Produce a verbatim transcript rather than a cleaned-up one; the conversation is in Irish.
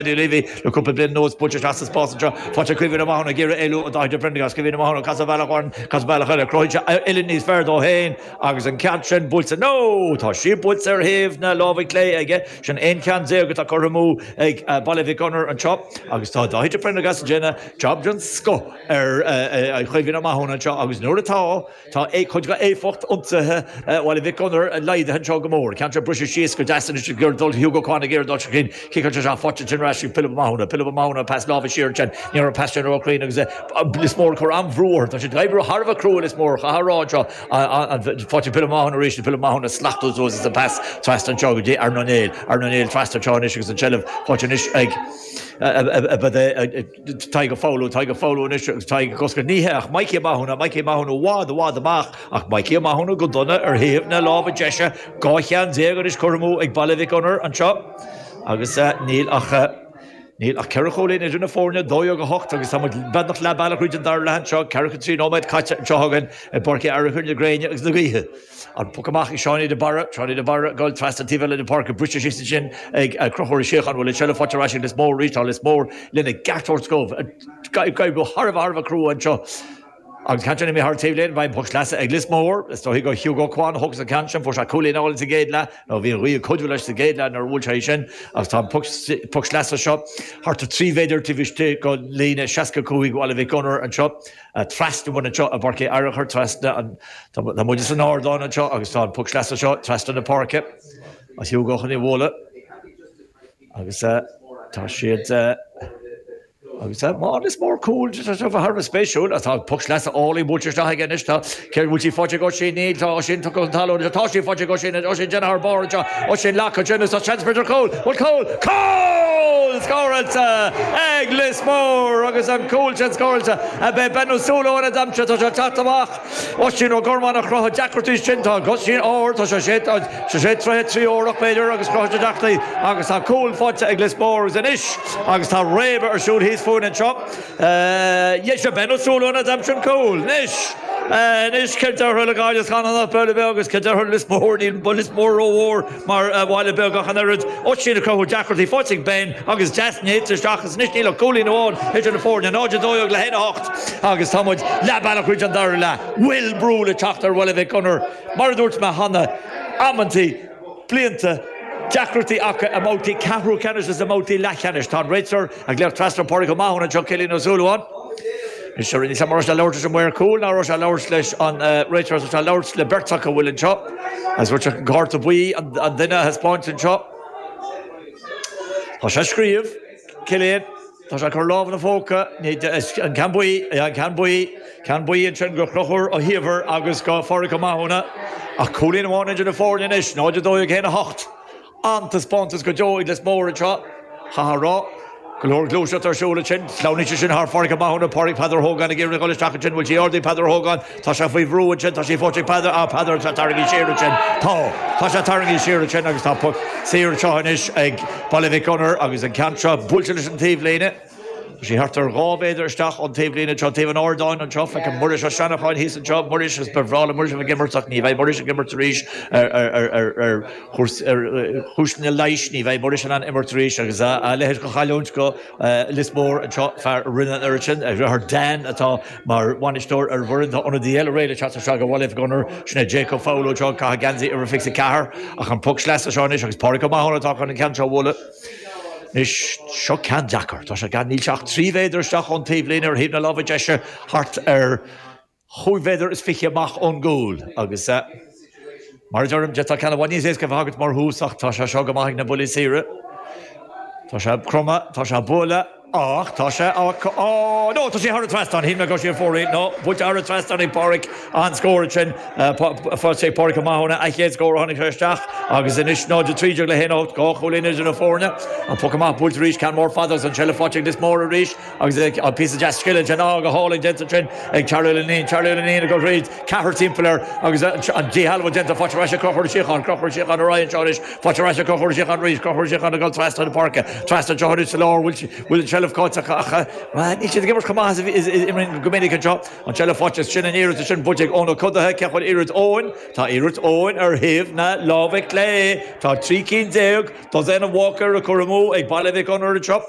Lévi le cúpla bliain anuas buailte isteach sa spás anseo faighte ag Caoimhín Ó Mathúna ag iarraidh éalú ó Dáithí de Prendergast Caoimhín Ó Mathúna casadh bealach amháin casadh bealach eile cruthaíonn sé uillinn níos fearr dó féin agus an ceann sin buailte nó tá sí buailte ar thaobh na láimhe clé aige sin aon cheann déag atá curtha amú ag Baile Mhic Gonair anseo agus tá Dáithí de Prendergast ag déanamh job den scoth ar Chaoimhín Ó Mathúna anseo agus nuair atá tá cuid de éifeacht ionsaithe Bhaile Mhic Gonair laghdaithe anseo go mór. Ceann seo briseadh síos go deas anois gur dul Hugo Quan ag iarraidh dul sa chinn ciceáilte isteach faighte ansin ar ais ag Pilib Ó Mathúna. Pilib Ó Mathúna pas láimhe siar ansin ní raibh an pas sin róchruinn agus Lios Mór ag cur an-bhrú orthu. Tá siad ag oibriú thar a bheith crua Lios Mór chaithfeá a rá anseo faighte ag Pilib Ó Mathúna arís Pilib Ó Mathúna slachtú suas is an pas trasna anseo go dtí Aaron Ó Néill. Aaron Ó Néill trasna anseo anois agus an tseilbh faighte anois ag Tadhg Ó Foghlú, Tadhg Ó Foghlú anois agus Tadhg ag oscailt. Ní hea ach Mikey Ó Mathúna, Mikey Ó Mathúna i bhfad, i bhfad amach ach Mikey Ó Mathúna go dona ar thaobh na láimhe deise. Dhá cheann déag anois curtha amú ag Baile Mhic Gonair anseo agus níl ach níl ach ceithre chúilín idir na foirne, dó dhéag a hocht agus tá muid beagnach leath bealach thríd an dara leath anseo, ceathracha trí nóiméad caite anseo againn i bPáirc Uí Fhearchair na gréine agus na gaoithe. An poc amach ag Seánie de Barra, Seánie de Barra ag dul trasna an taobh eile den pháirc, briste síos ansin ag Conchúr Ó Síocháin. Bhfuil an tseilbh faighte ar ais ag Lios Mór arís? Tá Lios Mór lena gceart a thabhairt dóibh. Ag oibriú thar a bheith thar a bheith crua anseo. Agus ceann sin imithe thar an taobhlíne, beidh an poc sleasa ag Lios Mór. Is dóigh gur Hugo Quan a thógfas an ceann sin. Fuair sé cúilín álainn sa gcéad leath, nó bhí an ghaoth ag cuidiú leis sa gcéad leath nuair a bhuail sé é sin. Agus tá an poc sleasa seo thart ar trí mhéadar taobh istigh de líne seasca cúig Bhaile Mhic Gonair anseo. Trasna uainn anseo i bPáirc Uí Fhearchair, trasna an, tá muid san ardán anseo agus tá an poc sleasa seo trasna na páirce. Agus Hugo chun é a bhualadh. Agus tá siad. Agus má Lios Mór cúl, tá sé thar a bheith spéisiúil. Tá poc sleasa álainn buailte isteach aige anois. Tá, céard, bhfuil sí faighte ag Oisín? Níl, tá Oisín tugtha chun talún. Tá sí faighte ag Oisín. Oisín déanamh thar barr anseo. Oisín leagtha ansin agus tá seans b'fhéidir cúl. Bhfuil cúl? Cúl! Scóráilte ag Lios Mór agus an cúl sin scóráilte ag Ben Ó Súilleabháin a d'aimsigh. Tá sé ag teacht amach. Oisín Ó Gormáin a chruthaigh deacrachtaí sin. Tá Oisín ard, tá sé sé sé troithe trí órach b'fhéidir agus chruthaigh sé deacrachtaí agus tá cúl faighte ag Lios Mór agus anois agus tá réabadh ar siúl thíos fúinn anseo. Dheis a Ben Ó Súilleabháin a d'aimsigh an cúl. Anois, anois Cill Dara le Gaillimh Chananach Baile Beag agus Cill Dara Lios Mór. Níl Lios Mór rómhór mar bhaile beag ach an oiread. Oisín ag cruthú deacrachtaí faighte ag Ben agus deas néata isteach agus anois níl ach cúilín amháin idir na foirne, náid a dó dhéag le haon a hocht agus tá muid leath bealach thríd an dara leath. Bhfuil brú le teacht ar Bhaile Mhic Gonair? Mar a dúirt mé cheana, amantaí, blianta, deacrachtaí acu i mbabhtaí ceathrú ceannais is i mbabhtaí leathcheannais. Tá an réiteoir ag glaoch trasna Pádraig Ó Mathúna anseo, Cillian Ó Súilleabháin. Anois níl a fhios agam an raibh sé ag labhairt leis an maor cúil ná raibh sé ag labhairt leis an réiteoir, tá sé ag labhairt le beirt acu a bhfuil anseo. Agus bhfuil sé an cárta buí an duine a thaispeáint anseo. Tá sé ag scríobh, Cillian. Tá sé ag cur lámh ina phóca. An ceann buí, an ceann buí, ceann buí ansin go Chonchúr Ó hÍomhair agus go Phádraig Ó Mathúna. Ach cúilín amháin idir na foirne anois, náid a dó dhéag a haon a hocht. An-taispeántas go deo ag Lios Mór anseo, chaithfeá a rá. Go leor gluaiseacht ar siúl ansin. Sleamhnaíonn sé sin thar Phádraig Ó Mathúna, Pádraig Peadar Ó hÓgáin ag iarraidh a dhul isteach ansin. Bhfuil sí ardaithe ag Peadar Ó hÓgáin? Tá sé faoi bhrú ansin. Tá sí faighte ag Peadar. Ah, Peadar, tá tarraingthe siar ansin. Tá. Tá sé tarraingthe siar ansin agus tá poc saor anseo anois ag Baile Mhic Gonair agus an ceann seo buailte leis an taobhlíne. Tá sí thart ar dhá mhéadar isteach ón taobhlíne anseo, taobh an ardáin anseo. Feicim Muiris Ó Seanacháin thíos anseo. Muiris, is ba bhreá le Muiris a bheith ag imirt ach ní bheidh Muiris ag imirt arís ar chúiseanna leighis. Ní bheidh Muiris in ann imirt arís agus a leithéid de chailliúint go Lios Mór anseo, fear a rinne an oiread sin. A dheartháir Dan atá mar bhainisteoir ar an bhfoireann. Tá ionadaí eile réidh le teacht isteach go Bhaile Mhic Gonair, sin é Jacob Foghlú anseo ag caitheamh geansaí uimhir fiche a ceathair. Ach an poc sleasa seo anois agus Pádraig Ó Mathúna atá chun an ceann seo a bhualadh. Anois, seo ceann deacair. Tá sé gan, níl sé ach trí mhéadar isteach ón taobhlíne ar thaobh na láimhe deise, thart ar chúig mhéadar is fiche amach ón gcúl. Agus mar a deirim, d'fhéadfadh ceann i bhfad níos éasca a bheith agat mar thús ach tá sé seo go maith ag na buillí saora. Tá sé cromtha, tá sé ag bualadh ach tá sé á, á, no, tá sé thar an trasnán, shíl mé go raibh sé ar fóraoil, no, buailte thar an trasnán ag Pádraig, an-scór ansin, faighte ag Pádraig Ó Mathúna, a chéad scór ó tháinig sé isteach agus anois náid a trí déag le haon a hocht, dhá chúilín idir na foirne, an poc amach buailte arís, ceann mór fada agus an tseilbh faighte ag Lios Mór arís agus an píosa deas scile ansin, á, go hálainn déanta ansin ag Charlie Linnane, Charlie Linnane ag dul thríd, ceathrar timpeall air agus an díshealbhú déanta, faighte ar ais ag Conchúr Ó Síocháin, Conchúr Ó Síocháin ar aghaidh anseo anois, faighte ar ais ag Conchúr Ó Síocháin arís, Conchúr Ó Síocháin ag dul trasna na páirce, trasna anseo anois sa lár, bhfuil bhfuil an tseilbh seilbh caillte ach níl siad ag imirt chomh maith is imríonn go minic anseo an tseilbh faighte sin an iarracht sin buaite ag Eoin Ó Codaithe ce chun iarracht Eoin Tá iarracht Eoin ar thaobh na láimhe clé Tá trí cinn déag dosaen Walker a chur amú ag Baile Mhic Gonair anseo